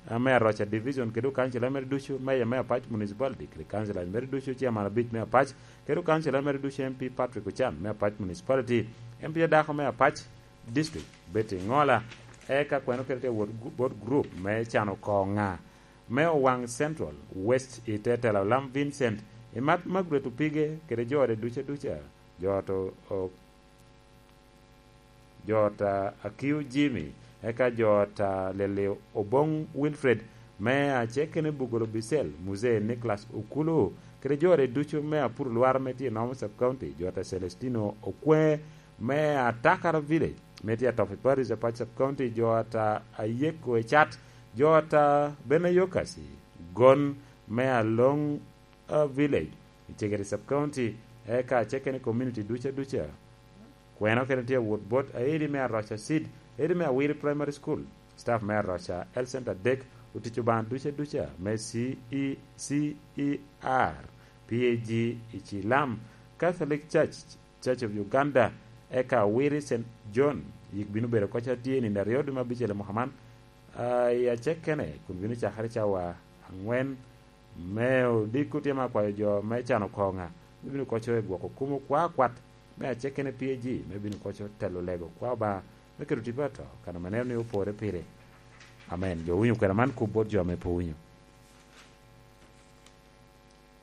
eh, me Aroca Division, kede okancila mere ducu, meya me Apac Municipality, kede kancila mere ducu, chairman abic me Apac, kede okancila mere ducu, M P Patrick Ochan me Apac Municipality, M P adako me Apac District, Betty Ngola, eka kwena okene tye wot gu-, bot group me cano koŋa me Owaŋ Central West i te tela Olam Vincent, i mat Margaret Opige kede jo ode duca duca, jo ata o-, jo ata Akiu Jimmy, eka jo ata Lili Oboŋ Wilfred, me acekene Bugolo Bisel, Muzee Nicholas Okulu, kede jo ode ducu me Apuru Lwar ame tye i Nomo Sub-County, jo ata Celestino Okwe, me Atakara Village, me tye Atopi Parish, Apac Sub County, jo ata Ayeko Ecat, jo ata Benayokasi, Gon me Along uh, Village, Icegere Sub County, eka aceke ni community duca duca. Kweno kene tye awot bot aidi me Aroca Seed, aidi me Awiri Primary School, staff me Aroca Health Center adek, otic Obaŋa duca duca me C E C E R, P A G i Cilam, Catholic Church, Church of Uganda, eka Awiri Saint John, yik bino bedo kocca tye nino aryo dwe me abicel i mwaka man, ah, i acekene, kun bino cakere cawa angwen me odiko tye me akwayo jo me cano koŋa, me bino kocca i gwoko kumo kwa kwat, me acekene P A G, me bino kocca telo lego kwa Obaŋa, me keto tipo ato, kan ame neno ni opore pire. Amen. Jo winyo kwena man kop bot jo ame pe winyo.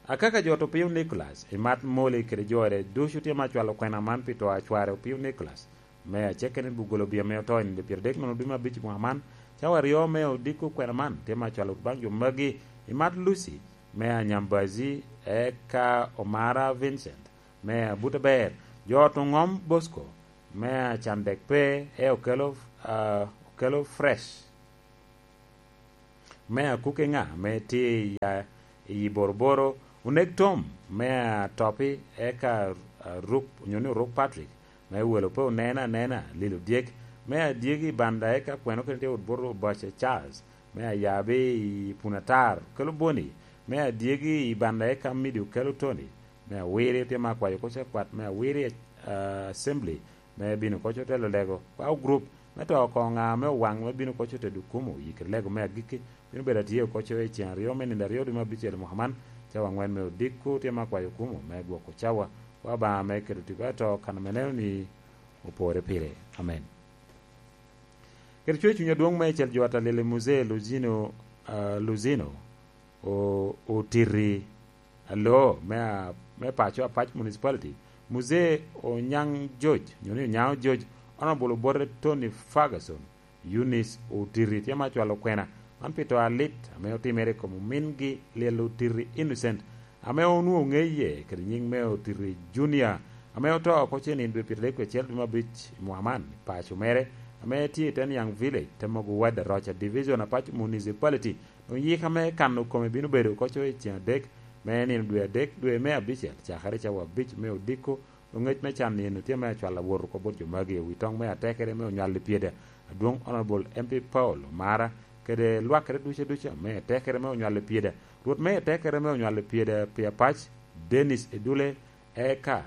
Akaka jo to piny Nicholas, i mat Moli kede jore, ducu tye ma cwalo kwena man pi to a cware opio Nicholas, me aceke ni bugolo bia me oto i nino pyeradek nono dwe me abic i mwaka man, cawa aryo me odiko kwena man tye ma cwalo baŋ jo magi, i mat Lucy, me Anyambazi, eka Omara Vincent, me Abuta Ber, jo to ŋom Bosco, me Acandek pe, e okelo, ah, okelo fresh. Me akuke ŋa ame tye i ya-, i Boroboro, onek Tom, me atopi, eka, ah, Ruk, onyo ni Oruk Patrick, me welo pe onena anena, lilo dyek, me adyegi i banda, eka kweno kene tye wot bot Obaca Charles, me ayabi i Punatar, kelo boni, me adyegi i banda, eka midi okelo Tony, me awiri tye me akwayo koca kwat, me awiri, ah, assembly, me bino koco telo lego, kwa group, me to oko ŋa me owaŋ me bino koco tedo kumo, yikere lego me agikki, bino bedo atye koco i ceng aryo me nino aryo dwe me abicel mwaka man, cawa angwen me odiko tye me akwayo kumo, me gwoko cawa, kwa Obaŋa me keto tipo ato kan me neno ni opore pire. Amen. Kede cwer cuny adwoŋ me icel jo atalili Muzee Luzino, ah, Luzino, o-, otiti alo me a-, me paco Apac Municipality, Muzee Onyaŋ George, nyo ni Onyaŋo George, Honorable Obote Tony Ferguson, Eunice Otiti tye ma cwalo kwena, man pi to alit ame otimere i kom omingi lyel Otiti Innocent, ame onwoŋo ŋeye kede nyiŋ me Otiti Junior, ame oto oko cen i dwe pyeradek kede acel dwe me abic i mwaka man, i paco mere, ame tye i Teniang Village, Temogo Ward, Aroca Division, Apac Municipality. Doŋ yika me kano kome bino bedo koco i ceng adek me nino dwe adek, dwe me abicel, cakere cawa abic me odiko. Doŋ ngec me can eno tye me acwal awot oko bot jo magi, i wi toŋ me atekere me onywal i pyeda, adwoŋ Honorable M P Paul Omara, kede lwakere duce duca me atekere me onywal i pyeda. Rwot me atekere me onywal i pyeda pi Apac, Dennis Edule, eka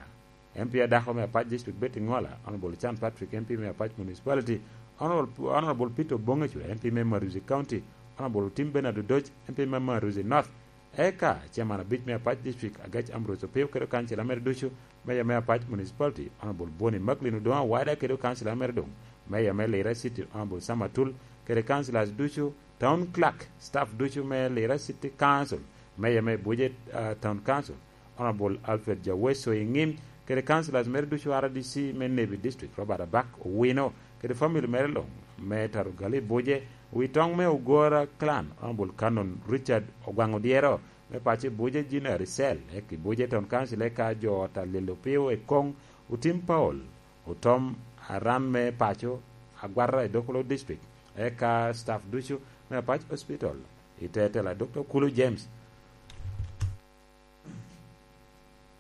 M P adako me Apac District Betty Ngola, Honorable Chan Patrick, M P me Apac Municipality, Honorable, Honorable Peter Bongecu, M P me Maruzi County, Honorable Tim Bernard Odoc, M P me Maruzi North, eka Chairman abic me Apac District, Agec Ambrose Opio, kede Council mere ducu, Mayor me Apac Municipality, Honorable Boni Macklin Odongo Awada, kede Council mere doŋ, Mayor me Lira City, Honorable Sam Atul, kede Councillors ducu, Town Clerk, staff ducu me Lira City Council, Mayor me Buje, ah, Town Council, Honorable Alfred Jaweso Iŋim, kede councillors mere ducu R D C me Nebi District, Robert Abak Owino, kede family mere luŋ, me Tarugali Buje, wi toŋ me Ogora Clan, Honorable Canon Richard Ogwaŋ Odyero, me paco Buje Junior Cell, eka i Buje Town Council, eka jo ot a Lilo Pio Ekoŋ, Otim Paul, Otom Aran me paco, Agwata i Dokolo District, eka staff ducu me Apac Hospital, i te tela Doctor Kulu James.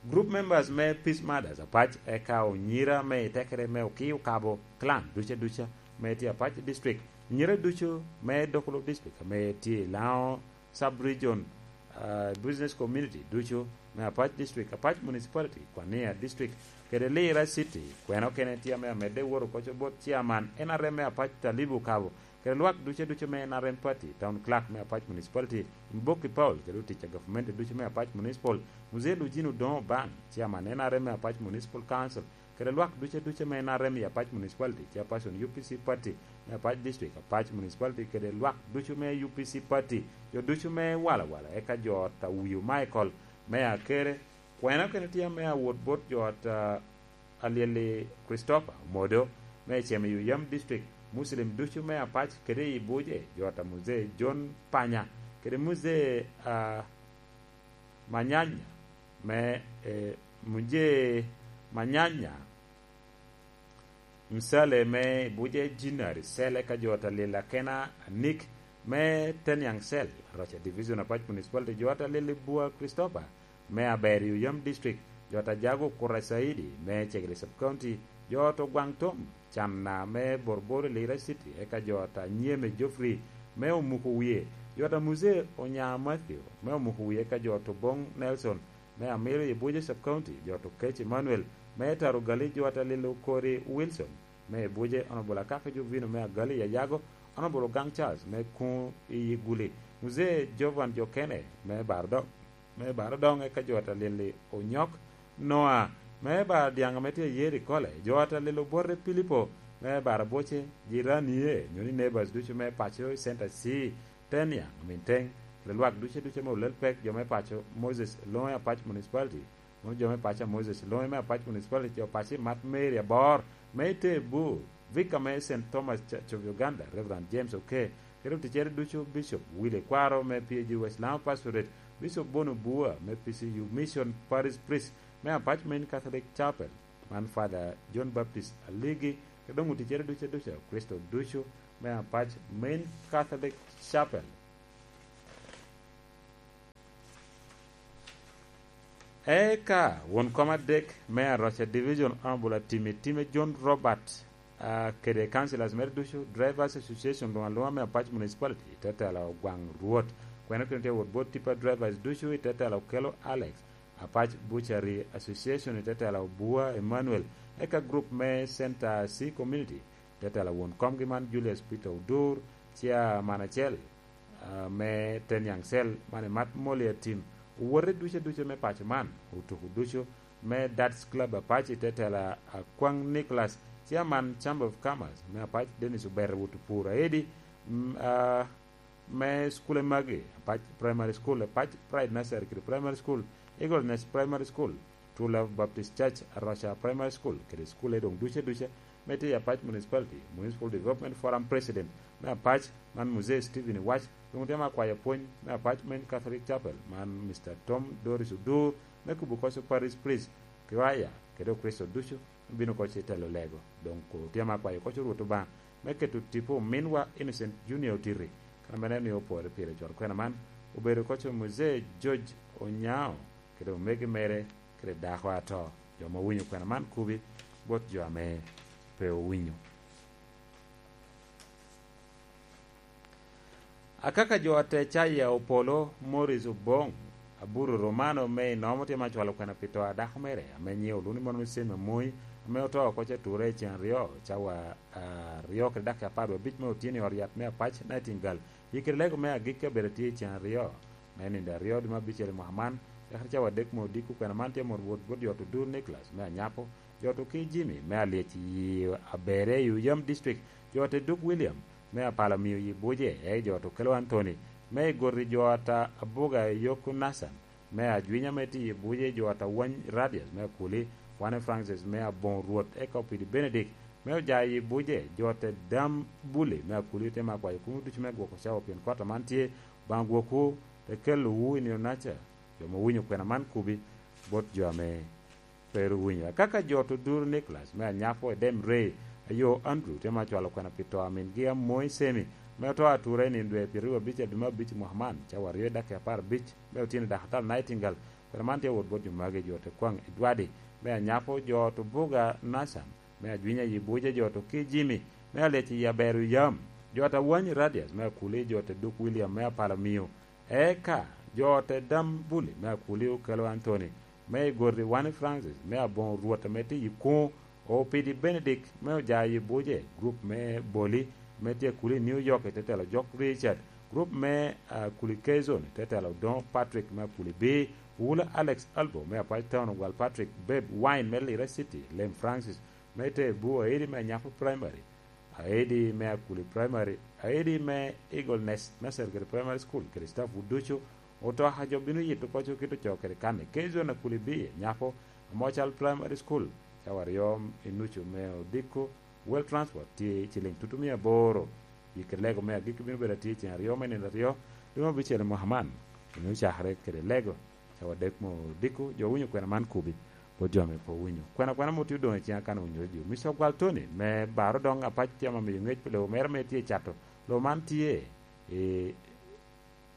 Group members me Peace Mothers Apac, eka onyira me i tekere me Okiyo Kabo Clan duca duca me tye Apac District, nyira ducu me Dokolo District ame tye i Lango Sub-Region, ah, Business Community ducu me Apac District, Apac Municipality, Kwania District, kede Lira City, kweno kene tye ame amedde woto koco bot Chairman N R M me Apac Talibu Kabo, kede lwak duce duce me N R M Party, Town Clerk me Apac Municipality, Mboki Paul, kede otic a gavumenti ducu me Apac Municipal, Mzee Lujino Odongo Oban, Chairman N R M me Apac Municipal Council, kede lwak duce duce me N R M i Apac Municipality, Chairperson U P C Party me Apac District, Apac Municipality, kede lwak ducu me U P C Party, jo ducu me Wala Wala, eka jo ot a Wiyo Michael, me Akere, kwena kene tye me awot bot jo ot a Alyeli Christopher Omodo, me Cem i Oyam District, Muslim ducu me Apac kede i Buje, jo ot a Mzee John Panya, kede Mzee, ah, Manyanya, me, eh, Mzee Manyanya, Msale me Buje Jinari Sele ka jo ta lil akena Nick me Teniang Sel, Rocha Division Apac Municipality, jo ta lil Bua Christopher me Aber Yuyam District, jo ta Jago Kura Saidi me Chegre Sub County, jo to Gwang Tom Channa me Borbor Lira City, eka jo ta Nyeme Geoffrey me Omuko Wie, jo ta Muse Onya Matthew me Omuko Wie, eka jo to Bong Nelson me Amiro i Buje Sub County, jo to Kec Emmanuel me Taro Gali, jo ta lil Okori Wilson me Buje, Honorable Akaka Jovino me Agali Yayago, Honorable Ogang Charles me Kuŋ i Guli, Muzee Jovan Jokene me Bardok, me Bardong, eka jo ta lil Onyok Noa me Bardiaŋ me tye Yeri Kole, jo ta lil Obote Pilipo me Baraboce, jiranie, nyo ni neighbors ducu me paco i Center C, Teniang, Minteng, kede lwak duce duce me olel pek, jo me paco Moses Loŋe Apac Municipality, mom jo me paco a Moses Loŋe me Apac Municipality, jo paco i Mat Mary Abor me Ite Bur, Vicar me Saint Thomas Church of Uganda, Reverend James Oke, kede oticere ducu, Bishop Willy Kwaro me P A G West Lango Pastorate, Bishop Bono Bua me P C U Mission Parish Priest me Apac Main Catholic Chapel, man Father John Baptist Aligi, kede doŋ oticere ducu ducu, Kricito ducu me Apac Main Catholic Chapel. Eka won kom adek me Aroca Division, Honorable Atimi Time John Robert, ah, kede councillors mere ducu, Drivers Association luŋ aluŋa me Apac Municipality, i te tela Ogwaŋ Rwot. Kwene kene tye wot bot Tipa Drivers ducu, i te tela Okello Alex, Apac Butchery Association, i te tela Obua Emmanuel, eka group me Center C Community, i te tela won komgi man Julius Peter Odur, Chairman acel, ah, me Teniang Cell, man i Mat Moli Atim, owote ducu aduca me paco man, otuko ducu me Darts Club Apac i te tela Akwaŋ Nicholas, Chairman Chamber of Commerce me Apac, Dennis Obere Wot Opur Aedi, mm, ah, me School Emagi, Apac Primary School, Apac Pride Nursery kede Primary School, Eagle Nest Primary School, True Love Baptist Church, Aroca Primary School, kede school doŋ ducu aduca me tye i Apac Municipality, Municipal Development Forum President me Apac, man Muzee Stephen Iwac, doŋ otemo akwayo pwony me Apac Main Catholic Chapel, man Mister Tom Doris Odur, me Kubukoco Parish Priest, Kiwaya, kede Okricito ducu, obino oko ce telo lego. Doŋ ko tye ame akwayo oko ce Rwot Obaŋa me keto tipo ominwa Innocent Junior Otiti, kan ame en omio opore pire cwalo kwena man, obedo oko ce Muzee George Onyao, kede omege mere, kede dako ato. Jo ame owinyo kwena man kubi bot jo ame pe owinyo. Akaka jo ate caya Opolo Morris Oboŋ, Aburu Romano me Inomo tye ma cwalo kwena pi to a dako mere, ame nyiŋe olwoŋo ni Mono Cem Amoyi, ame oto oko ce ture i ceŋ aryo, cawa aryo kede dakika apar wie abic me otyeno i ot yat me Apac Nightingale. Yikere lego me agikki abedo atye i ceŋ aryo, me nino aryo dwe me abicel i mwaka man, cakere cawa adek me odiko. Kwena man tye amot wot bot jo Odur Nicholas me Anyapo, jo Oki Jimmy me Alyec i Abereye i Oyam District, jo Duk William me Apala Miyo i Buje, e jo Okello Anthony me Igoti, jo ata Abuga Yoko Nathan me Ajwinya me tye i Buje, jo ata Wany Radius me Akuli, Wane Francis me Aboŋo Rwot, eka Opidi Benedict me Ojayo i Buje, jo ata Dam Buli me Akuli, otemo akwayo kunwu ducu me gwoko cawa pien kota man tye, Obaŋa gwokwu, te kelowu i nino-naca. Jo ame owinyo kwena man kubi bot jo ame pe ru winyo. Akaka jo Odur Nicholas me Anyapo, Edem Ray, ayo Andrew, tye ma cwalo kwena pi to a mingi Amoyi Semi, ame oto atura i nino dwe pyeraryo abic i dwe me abic i mwaka man, cawa aryo i dakika apar abic me otyeno i dakatala Nightingale. Kwena man tye wot bot jo magi, jo Tekwaŋ Edwadi me Anyapo, jo Tubuga Nathan me Ajwinya i Buje, jo Oki Jimmy me Alyec i Abero Yam, jo Tawany Radius me Akuli, jo Duk William me Apala Miyo, eka jo Dam Buli me Akuli, Okello Anthony me Igoti, Wani Francis me Aboŋo Rwot ame tye i Kuŋo, Opidi Benedict me Ojayo i Buje, grup me Boli me tye Akuli i New York i te telo Jok Richard, grup me, ah, Akuli K Zone i te telo Odoŋo Patrick me Akuli B, Wula Alex Albo me Apac Town, Ogwal Patrick, Beb Wine me Lira City, Lem Francis me te Bur, Aidi me Anyapo Primary, Aidi me Akuli Primary, Aidi me Eagle Nest Nursery kede Primary School, kede staff wu ducu. Otoka jo bino yito koco kit ocoo kede kan i Kezon Akuli B, Anyapo, Amocal Primary School, cawa aryo i nucu me odiko. Well Transport tye i ciliŋ tutumia aboro. Yikere lego me agikki bino bedo atye i ceŋ aryo me nino aryo, dwe me abicel i mwaka man. Bino cakere kede lego, cawa adek me odiko, jo winyo kwena man kubi. Pwod jo ame pe owinyo. Kwena kwena mot tye odoŋ i ciŋa kan owinyo redio. Mister Ogwal Tony, me Baro doŋ apac tye ame miyo ŋec pi lobo mere ame tye i cato. Lobo man tye i,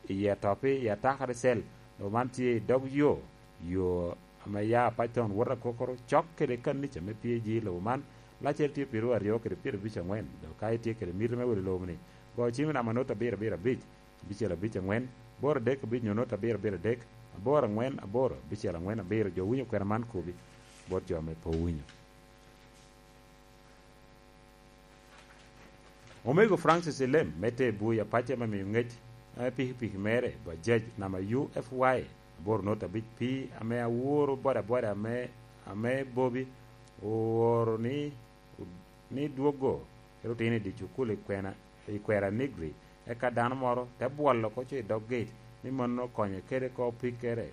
i Etoppi, i Atakari Cell. Lobo man tye i dog yo, yo ame ya apac town wot akokoro, cok kede kanica me P A G. Lobo man laccere tye piraryo kede pyerabic angwen. Dok ka itye kede miti me wilo lobo-ni, go cim i namba not abiro abiro abic, abicel abic angwen, aboro adek abic nyo not abiro abiro adek, aboro angwen aboro, abicel angwen abiro. Jo winyo kwena man kobi bot jo ame pe owinyo. Omego Francis Elem me te Bui apac ame miyo ŋec, ame pikipiki mere, Bajaj, namba U F Y aboro not abic P, ame aworo bodaboda ame, ame Bobi ooro ni, ni dwoggo, kede otino i dye cukul i kwena, i kwera Nigri, eka dano moro te bwolo oko co i dog gate, ni mano okonye kede ko pikkere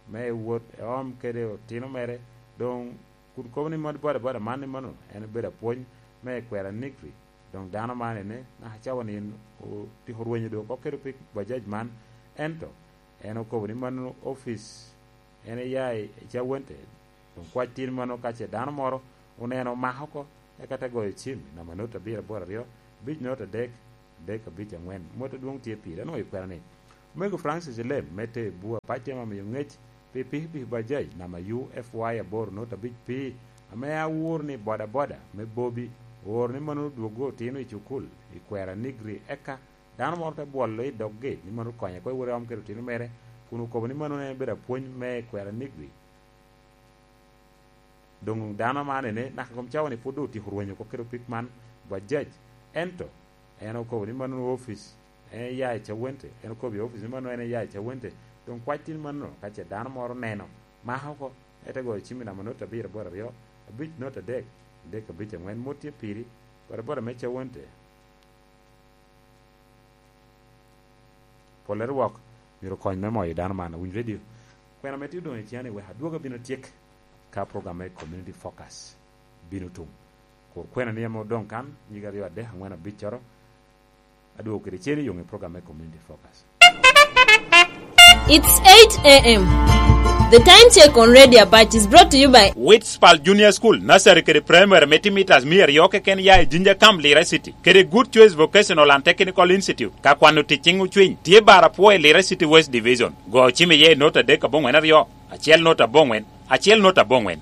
me wot eom kede otino mere. Doŋ kun kobo ni mot bodaboda man ni mano en obedo apwony me kwera Nigri. Doŋ dano man ene, naka cawa ni en otiko rwenyo doŋ oko kede pi Bajaj man, ento en okobo ni mano opic en iya i Cawente. Doŋ kwac tin mano ka ce dano moro oneno omako oko, eka te goyo cim i namba not abiro aboro aryo, abic not adek, adek abic angwen. Mot adwoŋ tye pire, anwoŋo i kwena ni, Omego Francis Elem me te Bua pacce ame omiyo ŋec pi pikipiki Bajaj namba U F Y aboro not abic P, ame awor ni bodaboda me Bobi ooro ni mano odwoggo otino i cukul i kwera Nigri, eka dano moro te bwolo i doggi ni mano okonye oko i wot eom kede otino mere, kun okobo ni mano en bedo apwony me kwera Nigri. Doŋ dano man ene, naka kom cawa ni pwod doŋ otyeko rwenyo oko kede opik man, Bajaj. Ento en okobo ni mano opic en iya i Cawente, en okobo i opic ni mano en iya i Cawente. Doŋ kwac tin mano, ka ce dano moro oneno, mako oko, ete goyo cim i namba not abiro aboro aryo, abic not adek, adek abic angwen, mot tye piri, bodaboda me Cawente. Pole rwok myero okony me moyo dano man. Awinyo redio. Kwena me tye odoŋ i ciŋa ni wek adwog abino tyek ka program me Community Focus bino tum. Kur kwena ni ame odoŋ kan, nyige aryo adek angwen abiccoro, adwogo kede cen i yoŋ i program me Community Focus. It's eight a m. The time check on Radio Apache is brought to you by Witspal Junior School, Nursery kede Primary me timo mitas mia aryo keken ya i Jinja Camp, Lira City, kede Good Choice Vocational and Technical Institute. Ka kwano tic ciŋ ocwiny, tye bar apwo i Lira City West Division. Go cim iye i not adek aboŋwen aryo, acel not aboŋwen, acel not aboŋwen.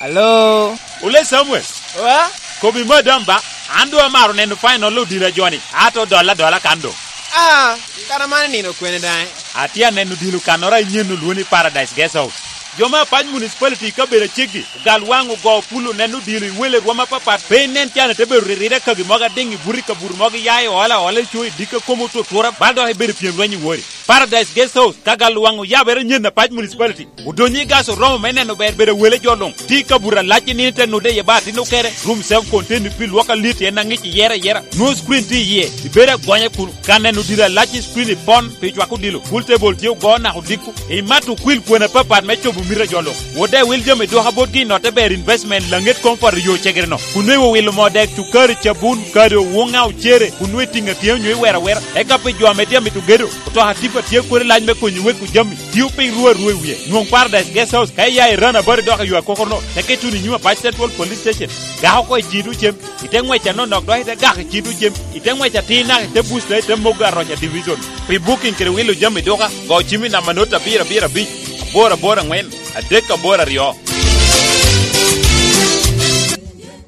Alo? Ole Samuel. Wa? Kobi madam ba, an doŋ amaro neno final odilo a joni, ato dola dola kan doŋ. Ah, kara man nino kwene daŋ? Atye aneno dilo kannoro a nyen olwongo ni Paradise Guest House. Jo me Apac Municipality i kabedo aceggi, ogal waŋ ogo pul oneno dilo i wele rwom apapat, pe inen can ite bedo riride kagi mogo adiŋ i buto i kabuto mogo iya i ola ola i co i dikka kom otutura, bal dok ibedo pyem lweny i wori. Paradise Guest House, ka gal waŋ oyabere nyen Apac Municipality. Odonyo i gas oromo me neno ber bedo wele jo luŋ. Tye i kabuto alac i nino te nude iye ba atin okere. Room self contained pi lwok alit en aŋic iyere ayera. Nwoŋo screen tye iye. Ibedo agonya kun ka neno dilo alac i screen ipon pi cwako dilo. Pool table tye ogo naka odiko. Imato okwil kwena apapat me cobo mito a jo luŋ. Wode awil jami dwoka botgi i notte ber investment laŋet comfort i yo cegere no. Kun nwoŋo iwilo moo dek cukari cabun kado wuŋa ocere. Kun nwoŋo itiŋ atyeo nyo iwero awera. Eka pi jo ame tye amito gedo. Otoka tipa tye kodi lac me konyo weko jami. Tio piny rwe arwe i wie. Nwoŋ Paradise Guest House ka iya i Rana Bari dok i yo akokoro no. Teke ituno i nyim Apac Central Police Station. Gako oko i ciŋ tucem. Ite ŋwec anonok dok ite gako i ciŋ tucem. Ite ŋwec atir naka ite busta ite mogo aroca division. Pi booking kede wilo jami duka, go cim i namba not abiro abiro abic, aboro aboro angwen, adek aboro aryo.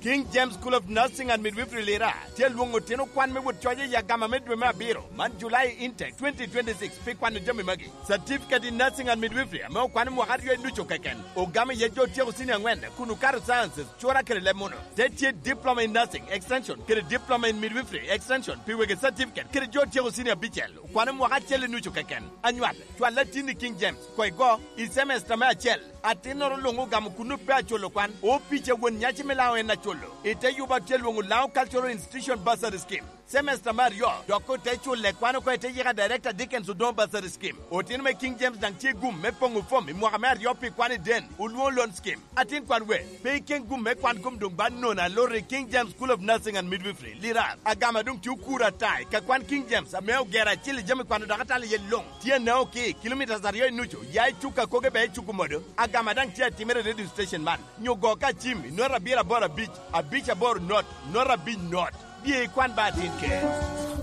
King James School of Nursing and Midwifery Lira tye alwoŋo otino kwan me wot coc i agama me dwe me abiro, man July intake twenty twenty-six, pi kwano jami magi. Certificate in Nursing and Midwifery ame okwano mwaka aryo i nucu keken, ogamo iye jo otyeko cinia angwen kun okato sciences, cura kede leb munu. Te tye Diploma in Nursing Extension kede Diploma in Midwifery Extension pi wegi certificate kede jo otyeko cinia abicel, okwano mwaka acel i nucu keken. Anywal, cwal latin i King James, koŋ igo i semester me acel. Atinnoro luŋ ogamo kun pe aculo kwan, opic a won nyaci me Laŋo en aculo. I te yubo atye lwoŋo Laŋo Cultural Institution Bursary Scheme. Semester me aryo, dok ote culle kwan oko i te yika Director Dickens Odongo Bursary Scheme. Otino me King James daŋ tye gum me poŋo fom i mwaka me aryo pi kwan i den, olwoŋo loan scheme. Atin kwan we, pe iken gum me kwan kom doŋ ba nono aloro i King James School of Nursing and Midwifery, Lirar. Agama doŋ tye okuro ata i ka kwan King James ame ogero acil i jami kwano dok atalo iye luŋ. Tye anao ki kilomitas aryo i nucu, ya i cuk akoge ba i cuk omodo. Agama daŋ tye atimere i radio station man. Nyo go ka cim i not abiro aboro abic, abic aboro not, not abic not. Bye ikwan ba atin ker.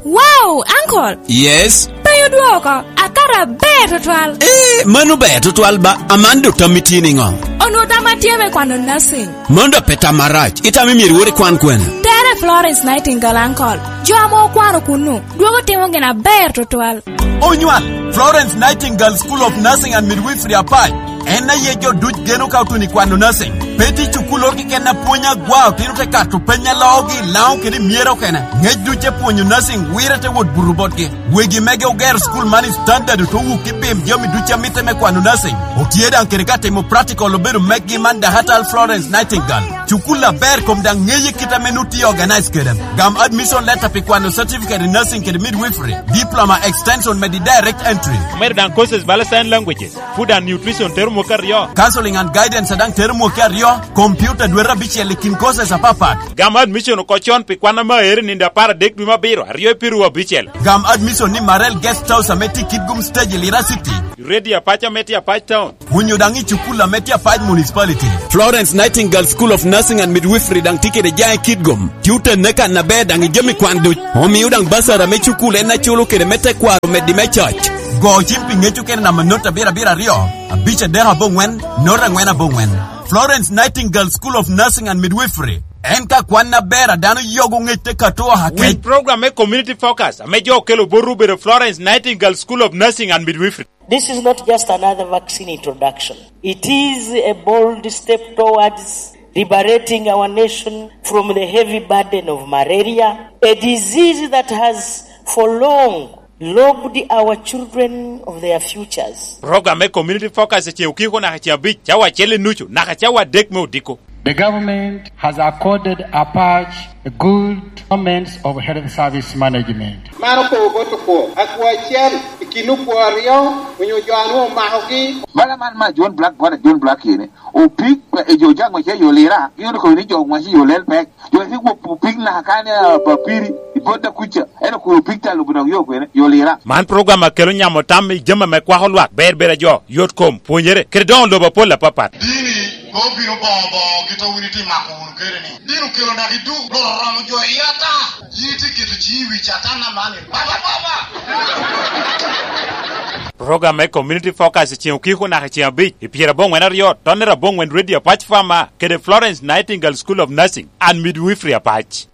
Wow, uncle! Yes? Pe odwoko, akato aber tutwal. Eh, mano ber tutwal ba, aman do tammi tye niŋo? Onwo tam atye me kwano nursing. Mano do pe tam arac, itamo myero iwot ikwan kwene? Tere Florence Nightingale, uncle. Jo ame okwano kunnu, dwogo timo gin aber tutwal. Onywal, Florence Nightingale School of Nursing and Midwifery Apac. En aye jo duc geno ka otuno i kwano nursing. Pe tye cukul oro keken a pwony agwa, otino te kato peny a loogi i Laŋo kede i Myero kene. Ŋec duc te pwonyo nursing wire te wot buto botgi. Wegi mege ogero cukul man i standard, ote wuk i pim jami duc a mitte me kwano nursing. Otye daŋ kede ka timo practical obedo meggi man Dahatal Florence Nightingale. Cukul aber kom daŋ ŋeye kit ame nu tye organize kede. Gam admission letter pi kwano certificate in nursing kede midwifery, diploma extension medi direct entry. Omedo daŋ courses bala sign languages, food and nutrition tero mwaka aryo. Counseling and guidance daŋ tero mwaka aryo, computer dwete abicel i kin courses apapat. Gam admission oko con pi kwan ame aero i nino apar adek dwe me abiro, aryo i piru abicel. Gam admission ni Marel Guest House ame tye i Kitgum Stage i Lira City. Ready Apac ame tye Apac Town. Onyo daŋ i cukul ame tye Apac Municipality. Florence Nightingale School of Nursing and Midwifery daŋ tye kede jaŋ i Kitgum. Tye otenne kan aber daŋ i jami kwan duc. Omio daŋ basara me cukul en aculo kede me tekwaro meddi me coc. Go cim pi ŋeco kede namba not abiro abiro aryo, abic adek aboŋwen, not angwen aboŋwen. Florence Nightingale School of Nursing and Midwifery. En ka kwan aber a dano yogo ŋec te kato oha kec. Winy program me Community Focus ame jo okelo botwu obedo Florence Nightingale School of Nursing and Midwifery. This is not just another vaccine introduction. It is a bold step towards liberating our nation from the heavy burden of malaria, a disease that has for long robbed our children of their futures. Program me Community Focus i ceŋ okiko naka ceŋ abic, cawa acel i nucu, naka cawa adek me odiko. The government has accorded Apac a good performance of health service management. Man okobo bot okwo, akwo acel i kin okwo aryo onyo jo a nwoŋo omakogi. Bala man ma John Black, bwana John Black yene, opik, e jo jaŋ wace yo lira, gin okobo ni jo wace yo lel pek. Jo ki gwok opik naka kan, eh, papiri, i bot da kuca, en okobo opik ta lubo dok yo kwene, yo lira. Man program a kelo nyamo tam i jami ame kwako lwak, ber ber a jo, yot kom, pwonyere, kede doŋo lobo apol apapat. Dini mom obino boŋo boŋo kit a wun itye mako wunu kede ni. Dini okelo naka i duk, loro oromo jo i ata. Yin itye keto ciŋi i wi Catan aman ni, "Baba, Baba!" Program me Community Focus i ceŋ okiko naka i ceŋ abic, i pyera aboŋwen aryo, tonnere aboŋwen Radio Apac Farmer, kede Florence Nightingale School of Nursing and Midwifery Apac.